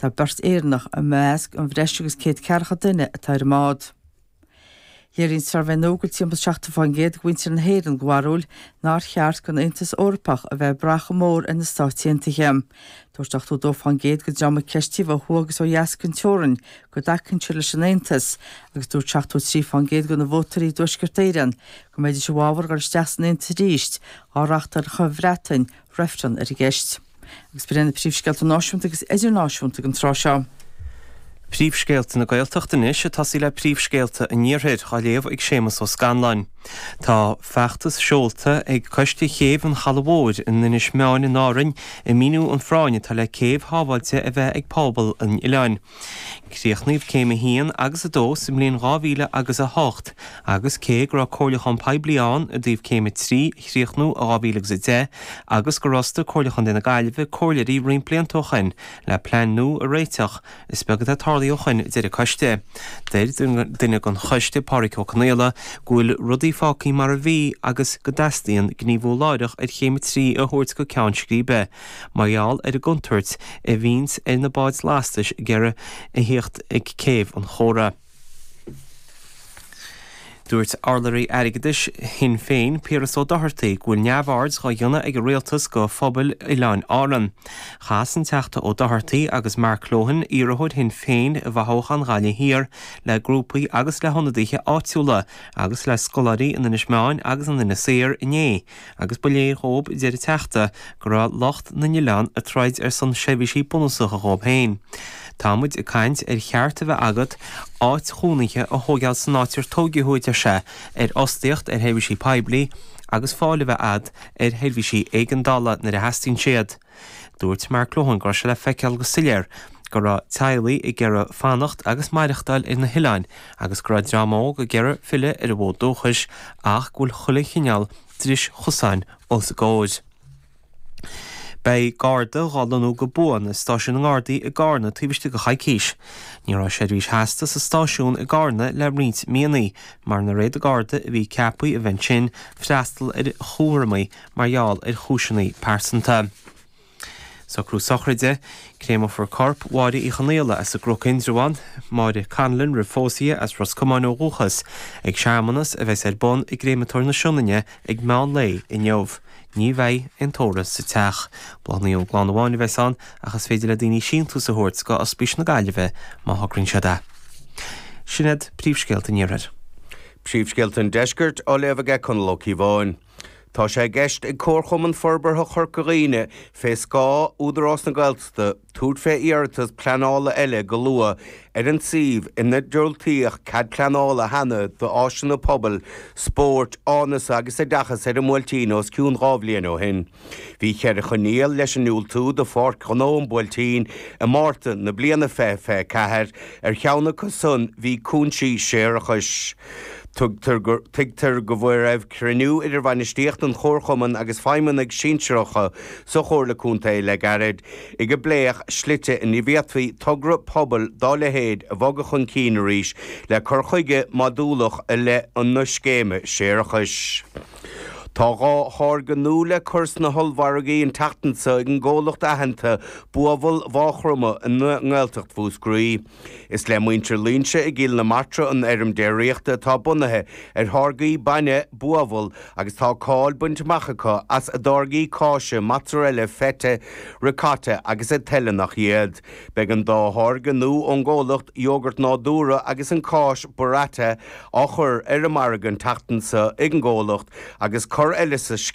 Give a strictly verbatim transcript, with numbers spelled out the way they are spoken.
Tá beirt Éireannach i measc an bhreis agus céad ceathracha duine atá ar an mbád. Léiríonn suirbhé nua go bhfuil timpeall seachtó faoin gcéad de mhuintir na hÉireann den bharúil nár cheart don Aontas Eorpach a bheith ag brath chomh mór ar na Stáit Aontaithe. Dúirt ochtó dó faoin gcéad den dream a ceistíodh ó thuaidh agus ó dheas den teorainn go dtacaíonn siad leis an Aontas agus dúirt seachtó trí faoin gcéad de na vótóirí i dTuaisceart Éireann go mbeidís i bhfabhar dul isteach san Aontas arís dá reáchtálfadh an Bhreatain reifreann ar an gceist. Agus b'in na príomhscéalta náisiúnta agus idirnáisiúnta den tráth seo. Príomhscéalta na Gaeltachta anois ag tosaí le príomhscéalta an Iarthair á léamh ag Séamus Ó Scanláin. Tá feachtas seolta ag Coiste Chéibh an Chalaidh Mhóir in Inis Meáin in Árainn ag míniú an phráinn atá le céibh shábháilte a bheith ag pobal an oileáin. Críochnaíodh céim a haon agus a dó sa mbliain dhá mhíle agus a hocht agus cé go raibh comhairliúchán poiblí ann i dtaobh céim a trí a chríochnú i dhá mhíle agus a deich agus gur fhostaigh Comhairle Chontae na Gaillimhe comhairleoirí roinnt blianta ó shin le plean nua a réiteach, is beag atá tarlaithe ó shin a deir an coiste. Deir duine den choiste Pádraig Ó Conaola go bhfuil rudaí fágtha mar a bhí agus go dteastaíonn gníomhú láithreach ar chéim a trí a thabhairt go ceann scríbe mar gheall ar an gcontúirt a bhíonns ar na báid lastais ag iarraidh a thíocht ag céibh an Chóra. Dúirt Urlabhraí Airgeadais Shinn Féin, Piaras Ó Dochartaigh, go bhfuil neamhaird dhá dhéanamh ag an rialtas go phobail Oileáin Árann. Chas an Teachta Ó Dochartaigh agus Mark Lohan, iarrthóir Shinn Féin i bhfothoghchán Ghaillimh Thiar, le grúpaí agus le hionadaithe áitiúla agus le scoláirí in Inis Meáin agus in Inis Oírr inné agus ba léir dhóibh, a deir an Teachta, go raibh lucht na n-oileán ag troid ar son seirbhísí bunúsacha dhóibh féin. Tá muid ag caint ar cheart a bheith agat áit chónaithe a thógáil san áit ar tógadh thú, a deir sé, ar fhostaíocht, ar sheirbhísí poiblí agus fáil a bheith agat ar sheirbhísí éigeandála nuair a theastaíonn siad. Dúirt Mark Lohan go raibh sé le feiceáil go soiléir go raibh teaghlaigh ag iarraidh fanacht agus maireachtáil ar na hoileáin agus go raibh dream óg ag iarraidh filleadh ar a bhfód dúchais ach go bhfuil chuile chineál dris chosáin os a gcomhair. Beidh Garda dhá lonnú go buan i stáisiún na nGardaí i gCarna taobh istigh de choicís. Ní raibh seirbhís sheasta sa stáisiún i gCarna le roinnt míonna mar nár fhéad an Garda a bhí ceaptha a bheith ansin freastal ar chúramaí mar gheall ar chúiseanna pearsanta. Socrú sochraide, Créamófar corp Mháire Uí Chonaola as an gCnoc Indreabhán, Máire Conlon roimh phósadh as Ros Comáin ó dhúchas, ag searmanas a bheas ar bun i gCréamatóir na Sionainne ag meán lae inniu. Ní bheidh aon tórramh sa teach. Bláthanna ón gclann amháin a bheas ann ach is féidir le daoine síntiús a thabhairt go Ospís na Gaillimhe má thograíonn siad é. Sin iad príomhscéalta an Iarthair. Príomhscéalta an Deiscirt á léamh aige Conall Ó Cíobháin. Tá sé i gceist ag Comharchumann Forbartha Chorca Dhuibhne fé scáth Údarás na Gaeltachta tabhairt fé iarratas pleanála eile go luath ar an suíomh ina diúltaíodh cead pleanála cheana d'áiseanna pobail, spóirt, áineasa agus oideachais ar an mBuailtín os cionn dhá bhliain ó shin. Bhí ceithre choinníoll leis an ndiúltú do Pháirc Ghnó an Bhuailtín i Márta na bliana fiche fiche ceathair, ar cheann acu san bhí cúinsí séarachais. Tuigtear go raibh cruinniú idir bhainistíocht an Chomharchumainn agus feidhmeannaigh sinsearacha sa Chomhairle Contae le gairid, ag a bpléadh slite ina bhféadfaí togra pobail dá leithéid a bhogadh chun cinn arís le cur chuige modúlach i leith na scéime séarachais. Tá dhá tháirge nua le cur sna hollmhargaí an tseachtain seo ag an gcomhlacht aitheanta Buabhall Mhaigh Chromtha i nGaeltacht Mhúscraí. Is le muintir Loingsigh i gCill na Martra an fheirm déiríochta atá bunaithe ar tháirgí bainne Buabhall agus tá cáil bainte amach acu as a dtáirgí cáise mozzarella, feta, ricotta agus a tuilleadh nach iad. Beidh an dá tháirge nua ón gcomhlacht, iógart nádúrtha agus an cáis burrata, á chur ar an margadh an tseachtain seo ag an gcomhlacht agus cor eile sa scéal.